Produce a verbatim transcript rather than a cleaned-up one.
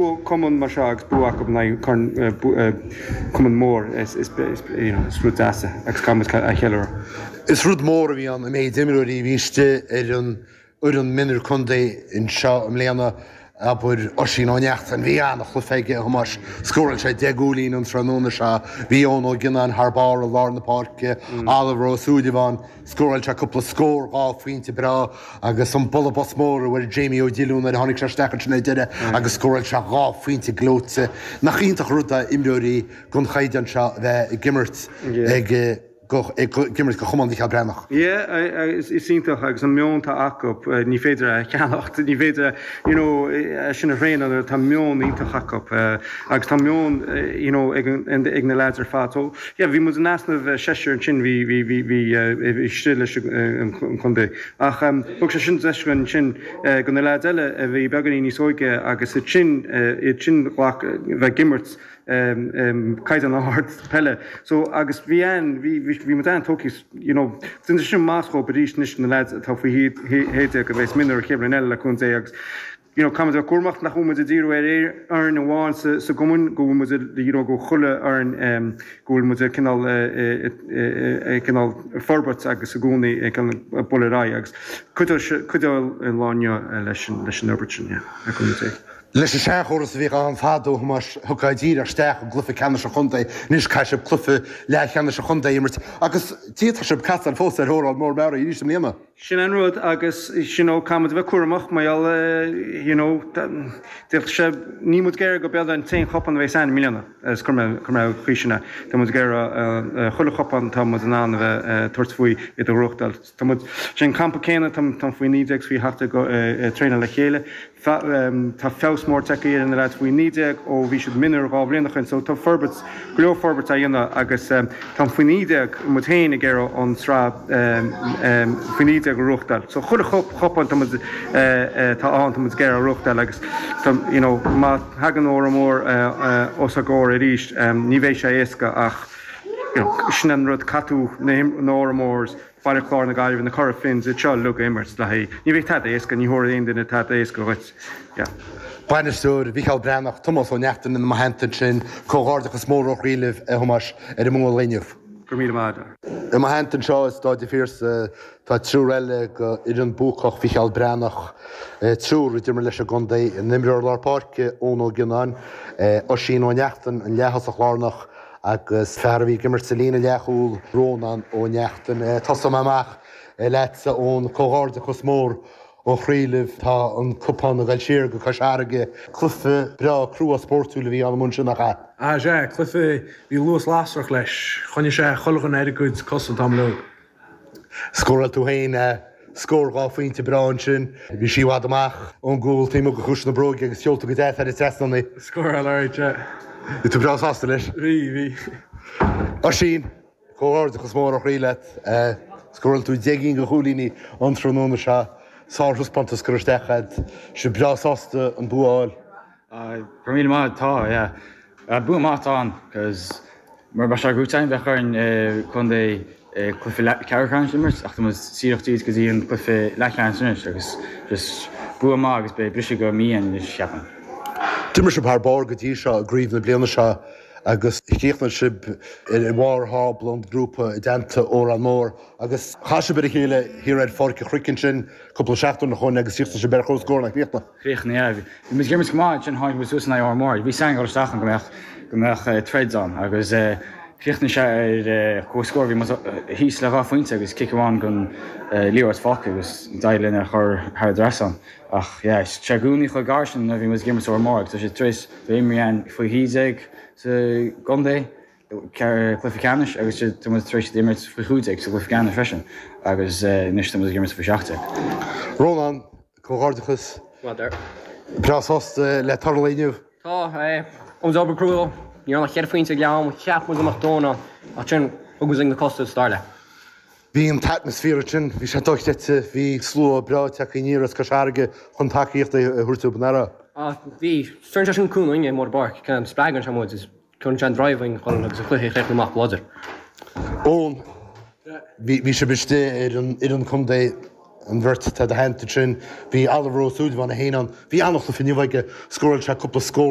Cumann mar seo agus bua acu in aghaidh cumann mór is you know is rud deas é agus caithfidh muid a cheiliúradh. Is rud mór a bhí ann an méid imreoirí a bhí istigh ar an fhoireann mionúir contae anseo i mbliana, abair Oisín Ó Neachtain, bhí an-chluiche aige, a Thomáis, scóráil sé deich gcúilín an tráthnóna seo, bhí Eoin Ó Gionnáin thar barr i lár na páirce, Oliver Ó Súilleabháin, Scóráil sé cúpla scór dhá phointe breá agus an bualadh bos mór a bhfuair Jamie Ó Diolúin nuair a tháinig sé isteach ansin ar deireadh agus scóráil sé dhá phointe gleoite. Nach iontach an rud é imreoirí den chaighdeán seo a bheith ag imirt ag ag imirt do Chumann Mhicheál Breathnach? Yeah, is iontach agus an meon atá acu, ní féidir é a cheannacht, ní féidir you know é sin a thraenáil, tá meon iontach acu agus tá meon you know ag ag na lads ar fad. So yeah, bhí muid in easnamh seisear ansin, bhí bhí bhí bhí bhí istigh leis an chontae. Ach thug sé sin deis againn ansin go na lads eile a bhí beagáinín níos óige agus iad sin iad sin ghlac bheith ag imirt caighdeán ard peile. So agus bhí an bhí bhí muid an-tógtha you know déanann sé sin maitheas dhóibh arís anois na lads atá faoi shé déag a bheas mionúir an chéad bhliain eile le cúnamh Dé agus you know, caithfimid a bheith cúramach nach bhfuil muid ag díriú ar fhoireann amháin sa, sa gcumann, go bhfuil muid, you know, go chuile fhoireann um, go bhfuil muid ag cineál, ag cineál forbairt agus i gcónaí ag cineál bualadh ar aghaidh agus cuideoidh, cuideoidh an lá inniu leis an, leis an fhorbairt sin, yeah, le cúnamh Dé. Leis an seanchóras a bhíodh ann fadó, a Thomáis, thiocfá díreach isteach i gcluiche ceannais an chontae, anois caithfidh sibh cluiche leathcheannais an chontae a imirt agus d'fhéadfadh sibh casadh fós ar Órán Mór Meáraí arís i mbliana. Sin an rud agus you know caithfimid a bheith cúramach mar gheall you know d'fhéadfadh sé, níl muid ag iarraidh go bead an t-aon chupán a bheas ann i mbliana is cuir mé cuir mé an chaoi sin é. Tá muid ag iarraidh chuile chupán atá muid in ann a bheith ag tabhairt faoi iad a ghnóthachtáil. Tá muid, sé an campa céanna tá tá faoi naoi déag is faoi sheacht déag ag traenáil le chéile. Tá feabhas mór tagtha ar na leaids faoi naoi déag ó bhí siad mionúir dhá bhliain ó shin so tá forbairt, go leor forbairt á dhéanamh agus tá faoi naoi déag, muid féin ag iarraidh an tsraith faoi naoi déag a ghnóthachtáil. So chuile chupán tá muid, atá ann tá muid ag iarraidh a ghnóthachtáil agus tá, you know, má thagann Órán Mór os ár gcomhair arís ní bheidh sé éasca ach, you know, sin an rud, caithfidh tú na Órán Mórs, Baile Chláir na Gaillimhe, na Cora Finns, iad seo uilig a imirt le haghaidh. Ní bheidh tada éasca, ní thabharfaidh aon duine tada éasca dhuit. Yeah. Bainisteoir Mhicheál Breathnach, Tomás Ó Neachtain ina mo theannta ansin. Comhghairdeachas mór ó chroí libh, a Thomáis, ar an mbua lae inniu. Go raibh míle maith agat. I mo theannta anseo i Stáid an Phiarsaigh tá triúr eile go fhoireann buacach Mhicheál Breathnach, triúr a d'imir leis an gcontae, an imreoir lár páirce Eoin Ó Gionnáin, Oisín Ó Neachtain, an leath-thosach lárnach, Agus fear a bhí ag imirt sa líne leathchúil, Rónán Ó Neachtain. Tosóidh mé amach leatsa, Eoin. Comhghairdeachas mór ó chroí libh. Tá an cupán ag dul siar go Cois Fharraige. Cluiche breá crua spórtúil a bhí ann amuigh ansin, nach ea? Ah sea, cluiche, bhí luas lasrach leis. Choinnigh sé chuile dhuine ar a gcuid cosa an t-am uilig. Scóráil tú féin scór dhá phointe breá ansin. Bhí sí i bhfad amach ón gcúl taobh amuigh de chuas na bróige agus sheol tú go deas thar an trasnán í. Scóráil alright, yeah. Bhí tú breá sásta leis? Bhí, bhí. Oisín, comhghairdeachas mór ó chroí leat. Scóráil tú deich gcinn de chúilíní an tráthnóna seo. Sárthaispeántas curtha isteach agat. Sibh breá sásta an bua a fháil? Go raibh míle maith, tá, yeah. Bua maith atá ann, cos mura mbeadh sé gnóite againn bheadh orainn contae cluiche ceathrú ceannais a imirt ach tá muid díreach tríd go dtí an cluiche leathcheannais anois agus just bua maith agus beidh briseadh go mí againn anois cheapfainn. D'imir sibh thar barr go dtí seo i gcraobh na bliana seo agus chríochnaigh sibh ar bharr thábla an ghrúpa i dteannta Órán Mór agus chas sibh ar a chéile thiar ar Pháirc an Chnoic ansin cúpla seachtain ó shoin agus chríochnaigh sibh ar comhscór, nach gcríochnaigh? Chríochnaigh, yeah. Bhí muid ag imirt go maith ansin tháinig muid suas in aghaidh Órán Mór. Bhí a fhios againn ag dul isteach ann go mbeadh go mbeadh troid ann agus chríochnaigh sé ar comhscór. Bhí muid thíos le dhá phointe agus cic amháin den liathróid fágtha agus d'éirigh linn é a chur thar an trasnán. Ach yeah, sé i gcónaí chomh gar sin nuair a bhí muid ag imirt Órán Mór agus tá sé tar éis bheith imrithe againn faoi shé déag sa gcontae, cluiche ceannais agus tá muid tar éis iad a imirt faoi chúig déag sa gcluiche ceannais freisin agus anois tá muid ag imirt faoi seacht déag. Rónán, Comhghairdeachas. Well done. Breá sásta le toradh lae inniu? Tá, eh. Rinne muid obair crua. Ní raibh ach ceithre phointe ag leath ama, cheap muid go mbeadh dóthain ann, ach ansin thug muid linn na cosa sa dara leath. Bhí an t-atmaisféar ansin, bhí sé dochreidte, bhí slua breá tagtha aniar as Cois Fharraige chun tacaíocht a thabhairt dóibh, nach raibh? Ah, bhí. Tugann sé sin cúnamh dúinn amuigh ar an bpáirc, spreagann sé muid is cuireann sé an drive againn chun agus an cluiche a chríochnú amach go láidir. Eoin, bhí sibh istigh ar an fhoireann contae an bheirt atá i do theannta sin, bhí Oliver Ó Súilleabháin féin ann, bhí an-chluiche inniu aige, scóráil sé cúpla scór.